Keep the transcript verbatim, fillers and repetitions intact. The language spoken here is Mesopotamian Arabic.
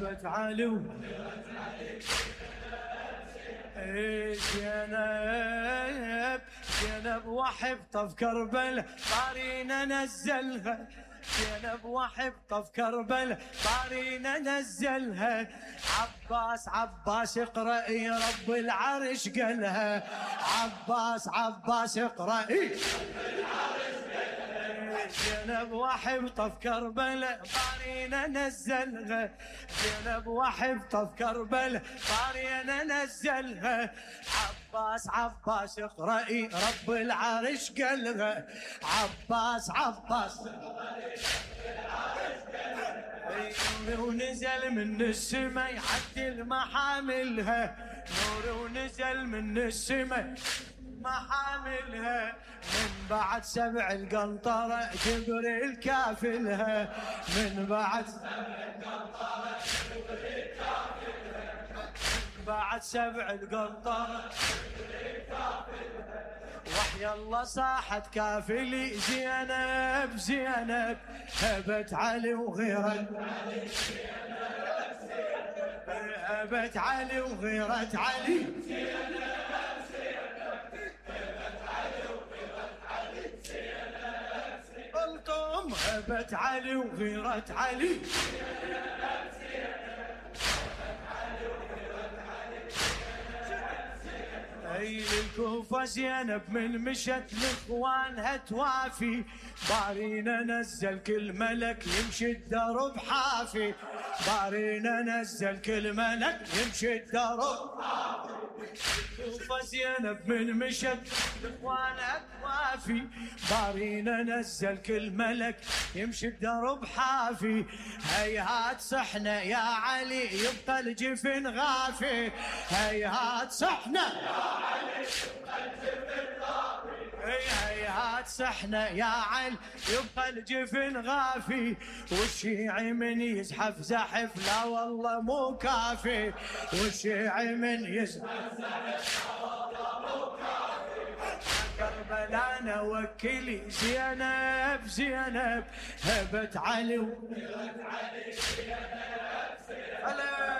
هبت علي ايه زينب زينب وحبطة في كربلاء طارينا نزلها زينب وحبطة في كربلاء طارينا نزلها عباس عباس اقرأي رب العرش قالها عباس عباس اقرأي زينب وحبطة في كربلاء طارينا نزلها زينب وحبطة في كربلاء طارينا نزلها عباس عباس اقرأي رب العرش قالها عباس عباس نور ونزل من السما يعدل محاملها نور ونزل من السما محاملها من بعد سبع القنطرة جبريل كافلها من بعد سبع القنطرة جبريل كافلها من بعد سبع القنطرة جبريل كافلها وحي الله صاحت كافلي زينب زينب هبت علي وغيرت علي هبت علي وغيرت علي قلتم هبت علي وغيرت علي اي الكوفة زينب من مشت لاخوانها توافي بارينا نزل كل ملك يمشي الدرب حافي بارينا نزل كل ملك يمشي الدرب حافي الكوفة زينب من مشت لاخوانها توافي بارينا نزل كل ملك يمشي الدرب حافي هيهات صحنا يا علي يبقى الجفن غافي هيهات صحنا يا علي يبقى الجفن غافي هيهات صحنا يا علي يبقى الجفن غافي والشيعي من يزحف زحف لا والله مو كافي والشيعي من يزحف زحف لا والله مو كافي كربلاء نوكلي زينب زينب هبت علي وهبت علي زينب زينب